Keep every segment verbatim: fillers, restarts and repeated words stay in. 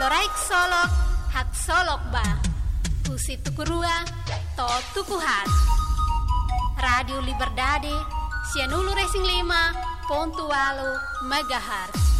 Loraik Solok, Haksolok Ba. Husi tuku rua to'o tuku haat. Rádiu Liberdade, sianulu-resin-lima pontu ualu megahertz.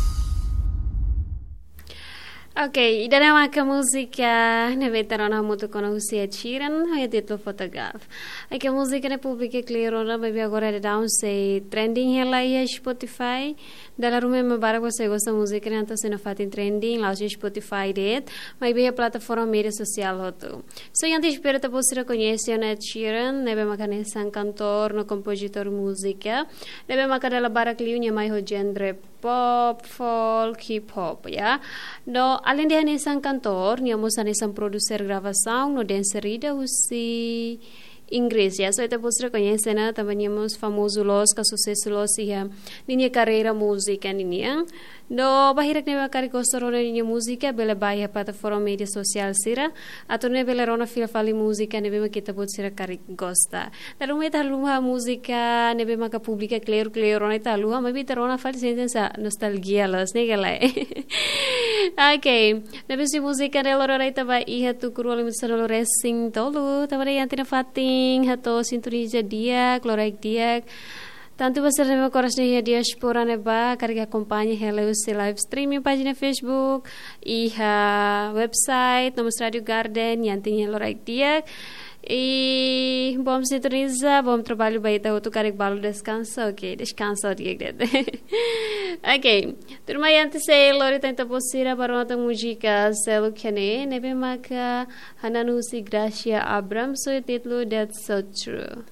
Ok, ida-ne'e maka múzika ne'ebé ita rona hamutuk ona husi Ed Sheeran, ho títulu Photograph. Ai ke múzika ne'e publika kleur ona, maibé agora daudaun sei trending hela iha Spotify. Dala ruma ema barak sei gosta múzika ne'e, entaun sei nafatin trending, la'ós iha Spotify de'it, maibé iha plataforma média sosiál hotu. So, entaun espera ita-boot sira koñese ona Ed Sheeran, ne'ebé maka hanesan kantór no kompozitór múzika, ne'ebé maka dala barak liu nia mai ho genre pop, folk, hip hop, ya. No, alende hanesan kantór, nia mós hanesan produser gravasaun no dancer ida husi Inggris, ya. So, ita-boot sira koñese ona, tanba nia mós famozu loos, ka susesu loos iha ninia karreira múzika ninian. No, ba hirak ne'ebé karik gosta rona ninia múzika, bele ba iha plataforma média sosiál sira, atu nune'e bele rona fila fali múzika ne'ebé maka ita-boot sira karik gosta. Dala ruma ita haluha múzika ne'ebé maka publika kleur-kleur ona ita haluha, maibé ita rona fali sente hanesan nostalgia loos, ne'e ka lae? Ok, ne'ebé husi múzika ne'e lori ona ita ba iha tuku rua limitu sanulu-resin-tolu, tanba ne'e iha ita-nia fatin, hato'o sintoniza di'ak, loraik di'ak. Tantu ba sira ne'ebé maka oras ne'e iha diáspora ne'ebá, karik akompaña hela husi live streaming pájina Facebook, iha website, no mós Rádiu Garden, entaun loraik di'ak. I bom sintoniza, bom traballu ba ita hotu, karik balu deskansa, ok, deskansa di'ak de'it. Ok, tuirmai ita sei lori tan ita-boot sira ba rona tan múzika seluk ne'e, ne'ebé maka hanesan husi Gracia Abrams, ho títulu That's So True.